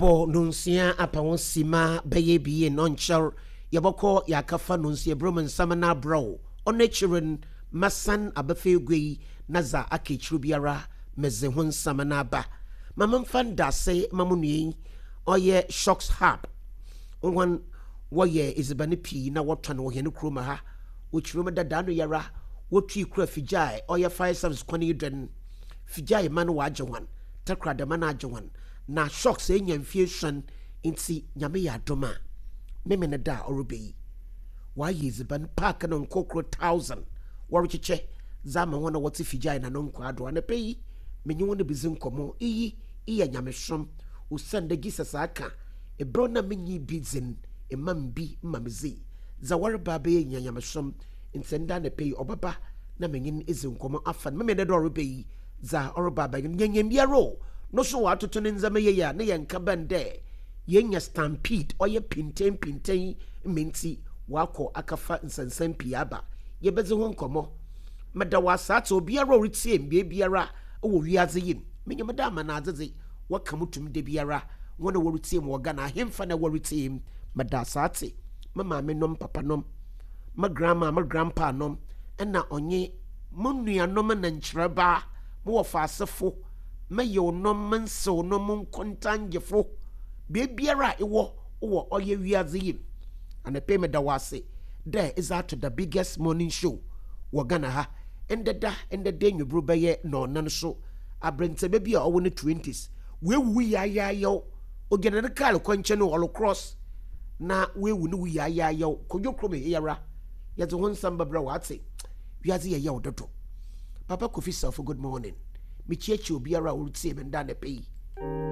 Abɔ nonsia apa ho sima bɛyɛ ebien, ɔnnkyɛr yɛbɔkɔ yɛakɛfa nonsia ebrom nsɛm no abrɛ wo. Ɔno ekyir no, mɛsan abɛfa egua yi na dza aka ekyir biara medze ho nsɛm no aba. Ma memfa ndaase ma mo nua yi, ɔyɛ Shocks Hub. Hɔn wɔyɛ edziban pii na wɔtɔn wɔ hɛn kurow mu ha. Wokyerɛ mu dɛ daano yi ara wotui kura figya a ɔyɛ fire service kwan yi do no, figya man wɔagye hɔn, Takoradi man agye hɔn, na Shocks enya mfe esuon ntsi Nyame yɛ adom a Memeneda a ɔreba yi wɔayɛ edziban pack no nkorkor thousand wɔrekyekyɛ dze ama hɔn a wɔtse figya na no nkwaa do. Anapa yi menye hɔn bedzi nkɔmbɔ. Iyi eyɛ nyamesom osiandɛ Jesus aka Ber na minnyi bi dze n', mma me bi ma medzi. Dza wɔreba abɛyɛ nyina nyamesom ntsi ndɛ anapa yi ɔbɛba na menye no edzi nkɔmbɔ afa no. Memen dɛ dɛ ɔreba yi, dza ɔreba abɛyɛ no, nyɛnyɛn biara o, no so ɔatoto ne ndzɛmba yie a, ne yɛ nka bɛn dɛ yenya stampede, ɔyɛ pintsɛn pintsɛn ma ntsi ɔakɔ akɛfa nsɛnsɛm pii aba. Yebedzi ho nkɔmbɔ. Meda wo ase atse obiara a oritsie me beebiara wɔ wiadze yi mu. Minyim dɛ amanadze dze, wɔka mo tum da biara, hɔn a woritsie me wɔ Ghana, ahemfa na wɔritsie me, meda asaatse, me maame nom, papa nom, me grandma, me grandpa nom, nna ɔnye mo nuanom na nkyerɛbaa, mo wɔfaasefo, me yewnom, me nsewnom, mo nkontangyefo, beebiara a ewɔ wɔ ɔyɛ wiadze yi mu. Anapa yi meda wo ase dɛ edze ato the biggest morning show wɔ Ghana ha, ndɛ da, ndɛ da ewimbir bɛyɛ nɔɔnan so Aberantsɛba bi a ɔwɔ no twenties, oewu yaayayaw, ogyina ne kaar kwankyɛn o, ɔrocross na oewu no wu yaayayaw. Kojo kurom he ara, yɛdze ho nsɛm bɛbrɛ wo, atse? Wiadze yɛ yaw dodo. Papa Kofi Safo, good morning. Mekyiakyia obiara a oritsie me ndɛ anapa yi.